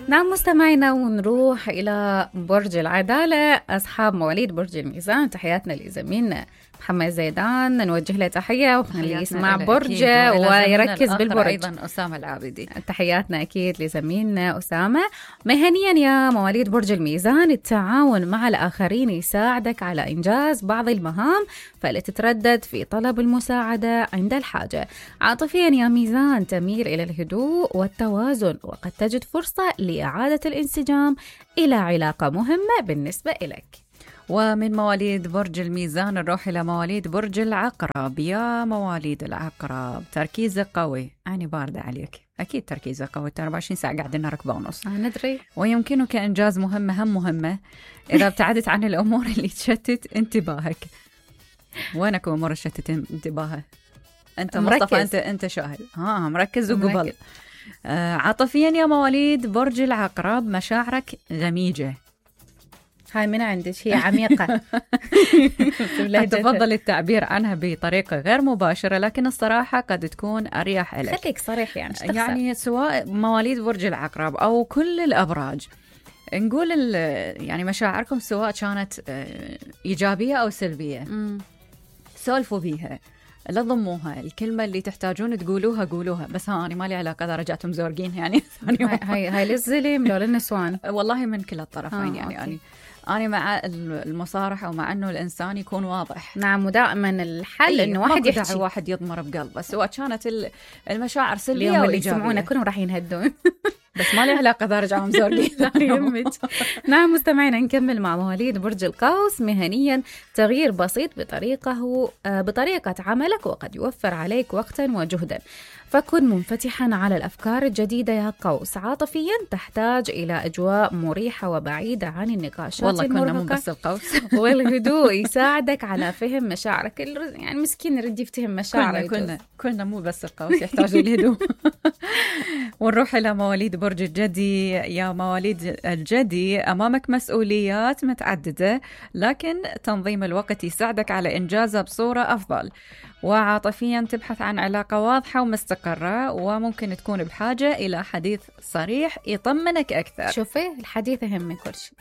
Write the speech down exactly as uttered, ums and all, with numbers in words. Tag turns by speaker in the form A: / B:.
A: نعم مستمعينا، ونروح إلى برج العدالة. أصحاب مواليد برج الميزان، تحياتنا لزميلنا محمد زيدان، نوجه له تحية وخليه يسمع برجه ويركز بالبرج.
B: أيضا أسامة العابدي،
A: تحياتنا أكيد لزميلنا أسامة. مهنيا يا مواليد برج الميزان، التعاون مع الآخرين يساعدك على إنجاز بعض المهام، فلا تتردد في طلب المساعدة عند الحاجة. عاطفيا يا ميزان، تميل إلى الهدوء والتوازن، وقد تجد فرصة لإعادة الانسجام إلى علاقة مهمة بالنسبة إليك.
B: ومن مواليد برج الميزان نروح إلى مواليد برج العقرب. يا مواليد العقرب، تركيزك قوي، أنا باردة عليك، أكيد تركيزك قوي، أربعة وعشرين ساعة قاعدين ركبة ونص،
A: ندري.
B: ويمكنك إنجاز مهمة هم مهمة إذا ابتعدت عن الأمور اللي تشتت انتباهك. وينك أمور تشتت انتباهك؟ أنت مصطفى، أنت أنت شاهد، ها مركز وقبل. آه عاطفيا يا مواليد برج العقرب، مشاعرك غميجة.
A: هاي من عندك، هي عميقة.
B: تفضل التعبير عنها بطريقة غير مباشرة، لكن الصراحة قد تكون أريح لك.
A: خليك صريح يعني.
B: يعني سواء مواليد برج العقرب أو كل الأبراج، نقول يعني مشاعركم سواء كانت إيجابية أو سلبية، سولفوا بيها، لا تضموها، الكلمة اللي تحتاجون تقولوها قولوها، بس ها أنا مالي علاقة إذا رجعتم زورقين يعني.
A: هاي هاي, هاي للظلم لو للنسوان،
B: والله من كلا الطرفين.
A: آه
B: يعني
A: أوكي.
B: أنا أنا مع المصارحة ومع أنه الإنسان يكون واضح.
A: نعم، ودائما الحل إنه واحد يحكي،
B: واحد يضمر بقلبه، سواء كانت المشاعر سلبية
A: اليوم
B: أو
A: اللي
B: إيجابية.
A: يسمعونا كلهم راح ينهدون.
B: بس ما لي علاقة إذا رجعوا مزورقين.
A: نعم مستمعينا، نكمل مع مواليد برج القوس. مهنيا، تغيير بسيط بطريقة بطريقة عملك وقد يوفر عليك وقتا وجهدا، فكن منفتحا على الأفكار الجديدة يا قوس. عاطفيا، تحتاج إلى أجواء مريحة وبعيدة عن النقاشات
B: والله
A: المرهقة.
B: كنا مو بس القوس.
A: والهدوء يساعدك على فهم مشاعرك، يعني مسكين يرد يفتهم مشاعره.
B: كنا, كنا, كنا مو بس القوس يحتاج الهدوء. ونروح إلى مواليد برج الجدي. يا مواليد الجدي، أمامك مسؤوليات متعددة، لكن تنظيم الوقت يساعدك على إنجازها بصورة أفضل. وعاطفيا، تبحث عن علاقة واضحة ومستقرة، وممكن تكون بحاجة إلى حديث صريح يطمنك أكثر.
A: شوفي، الحديث أهم من كل شيء.